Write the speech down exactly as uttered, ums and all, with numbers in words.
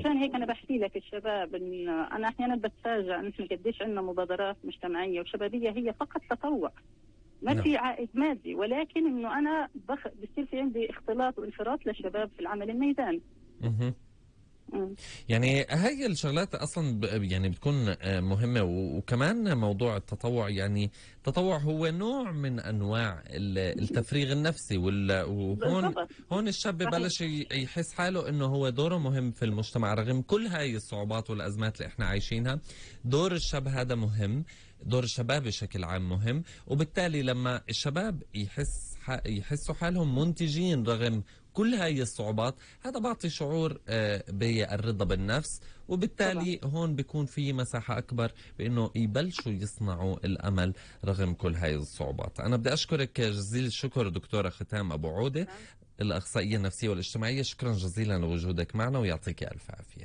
مشان هيك انا بحكي لك الشباب إن انا احيانا بتفاجئ نحن قديش عندنا مبادرات مجتمعيه وشبابيه هي فقط تطوع، ما نعم. في عائد مادي، ولكن انه انا بخ... بصير في عندي اختلاط وانخراط للشباب في العمل الميداني. مه. مم. يعني هاي الشغلات اصلا ب- يعني بتكون آه، مهمه، و- وكمان موضوع التطوع. يعني التطوع هو نوع من انواع ال- التفريغ النفسي، وال- وهون بالضبط. هون الشاب صحيح. ببلش ي- يحس حاله انه هو دوره مهم في المجتمع رغم كل هاي الصعوبات والازمات اللي احنا عايشينها. دور الشاب هذا مهم، دور الشباب بشكل عام مهم، وبالتالي لما الشباب يحس ح- يحسوا حالهم منتجين رغم كل هاي الصعوبات، هذا بعطي شعور آه، بالرضا بالنفس، وبالتالي هون بيكون في مساحة أكبر بأنه يبلشوا يصنعوا الأمل رغم كل هاي الصعوبات. أنا بدي أشكرك جزيل الشكر دكتورة ختام أبو عودة، الأخصائية النفسية والاجتماعية. شكرا جزيلا لوجودك معنا ويعطيك ألف عافية.